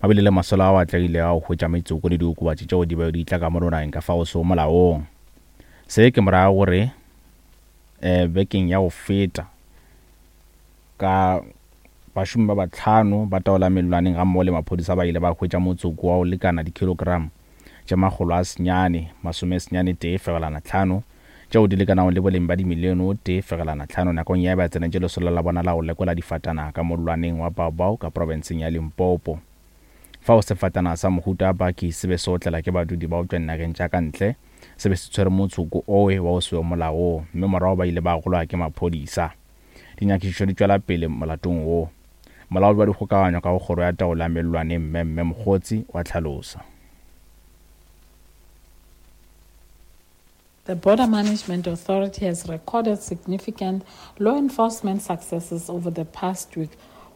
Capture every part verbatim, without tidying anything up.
Ba bile le masolo ao a atlegilego a go hwetša metsoko le diokobatši tšeo di bego di tla ka mo nageng ka fao sego molaong. Se ke morago gore um bekeng ya go feta ka bašomi ba bahlano ba taola mellwaneng gammogo le maphodisa ba ile ba hwetša motsoko wa go lekana dikilogram tše makgolo a senyane masome senyane tee fegelwana hlano tšeo di lekanago le boleng ba dimilione o tee fegelwana hlano nakong ya ba tsenetše lesolo la bona la go lekola difatanaga ka mollwaneng wa Baobab ka profenseng ya Limpopo. Fao sefatanaga sa mohuta wa baki se be se otlela ke badudi ba go tšwa dinageng tša ka ntle se be se tshwere motsoko owe wa go se we molaong mme morago ba ile ba gologa ke maphodisa. Dinyakišišo di tšwela pele molatong wo. Molaodi wa dikgokaganyo ka go kgoro ya taolo ya mellwaneng Mme Mme Mokgotsi wa hlalosa. The Border Management Authority has recorded significant law enforcement successes over the past week,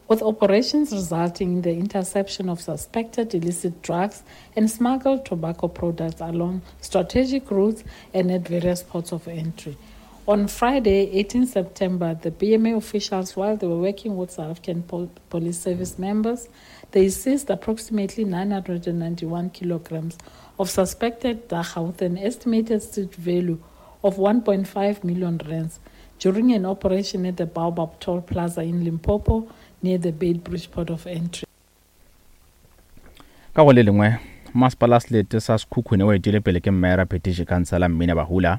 with operations resulting in the interception of suspected illicit drugs and smuggled tobacco products along strategic routes and at various ports of entry. On Friday, eighteenth September, the B M A officials, while they were working with South African Pol- Police Service members, they seized approximately nine hundred ninety-one kilograms of suspected dagga with an estimated street value of one point five million rands during an operation at the Baobab Toll Plaza in Limpopo near the Beitbridge port of entry. Ka go le lengwe, masepala selete sa Sekhukhune o etile pele ke Mmeara Phetiši Councillor Mmina Bahula.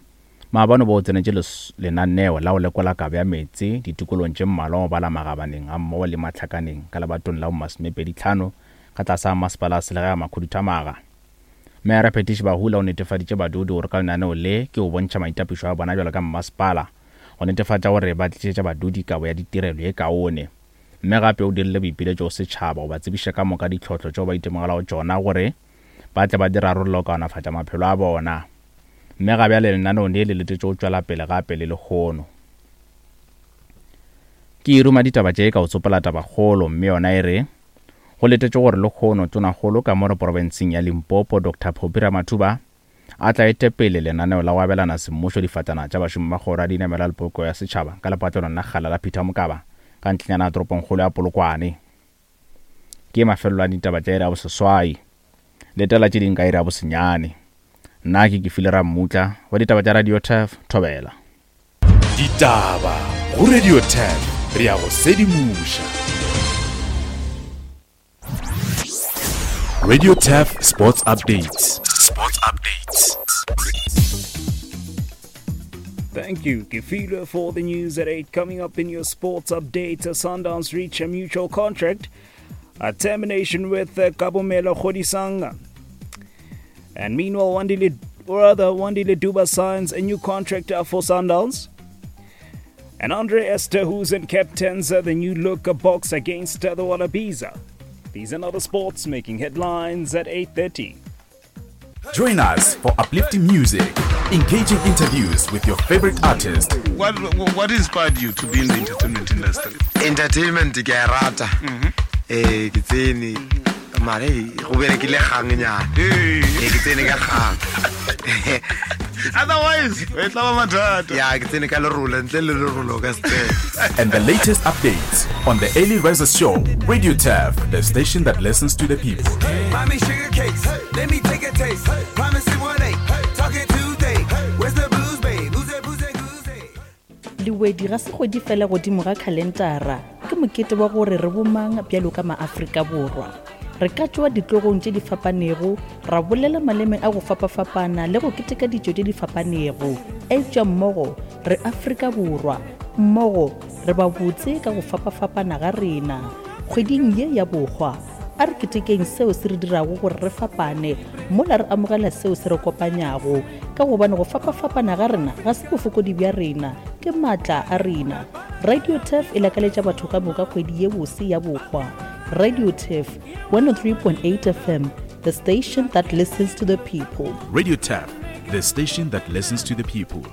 Maabane bo tsenetše lenaneo la go lekola kabo ya meetse ditikolong tše mmalwa go bala magabaneng ga mmogo le mahlakaneng ka lebatong la bo masomepedi hlano ka tlase ga masepala selegae a Makhuduthamaga. Mmeara Phetiši Bahula o netefaditše badudi gore ka lenaneo le ke go bontšha maitapišo a bona bjalo ka mmasepala go netefatša gore ba tlišetša badudi kabo ya ditirelo ye kaone. Mme gape o dirile boipiletšo go setšhaba go ba tsebiša ka moka ditlhohlo tšeo ba itemogelago tšona gore ba tle ba di rarolle go kaonafatša maphelo a bona. Mme ga bjale lenaneo le le letetše go tšwela pele gape le lekgono. Ke e ruma ditaba tše ka go tsopola tabakgolo, mme yona e re go letetše gore lekgono tonakgolo ka mo profenseng ya Limpopo Doctor Phophi Ramathuba a tla ete pele lenaneo la go abelana semmušo difatana tša bašomi ba kgoro ya dinamelwa le poloko ya setšhaba ka lepatlelong la kgala la Peter Mokaba ka ntlenyana ya toropongkgolo ya Polokwane. Ke mafelelo a ditaba tša iri ya boseswai. Letela tše ding ka iri ya bosenyane. Nna ke Kefile Rammutla wa ditaba tša Radio Turf Thobela. Ditaba go Radio Turf, re ya go sedimoša. Radio Turf Sports Updates. Sports Updates. Thank you, Kefile, for the news at eight. Coming up in your sports update, Sundowns reach a mutual contract, a termination with uh, Kabumela Kgodisang. And meanwhile, Wandile, or rather, Wandile Duba signs a new contract for Sundowns. And Andre Esterhuizen captains the new look box against the Wallabies. These and other sports making headlines at eight thirty. Join us for uplifting music, engaging interviews with your favorite artist. What, what inspired you to be in the entertainment industry? Entertainment ke a rata. Eh, ke tsene mare go berekile kgang nyana. Eh, ke tsene ka kgang. Otherwise, e tla ba mathata. Ya, ke tsene ka lerolo, ntle le lerolo ka se. And the latest updates on the Early Risers Show, Radio Turf, the station that listens to the people. Mommy sugar cakes, let me take a taste. Promise it one eight, talking Tuesday. Where's the booze, babe? Booze, booze, booze. Lewedi ga se kgwedi fela godimo ga khalentara, ke mokete wa gore re bomang bjalo ka maAfrika Borwa. Re ka tšwa ditlogong tše di fapanego, ra bolela maleme a go fapafapana le go keteka ditšo tše di fapanego. Eupša mmogo re Afrika Borwa, mmogo re ba botse ka go fapafapana ga rena. Kgweding ye ya bohwa, a re ketekeng seo se re dirago gore re fapane, mola re amogela seo se re kopanyago, ka gobane go fapafapana ga rena ga se bofokodi bja rena, ke maatla a rena. Radio Turf e lakaletša batho ka moka kgwedi ye bose ya bohwa. Radio Turf one oh three point eight F M, the station that listens to the people. Radio Turf, the station that listens to the people.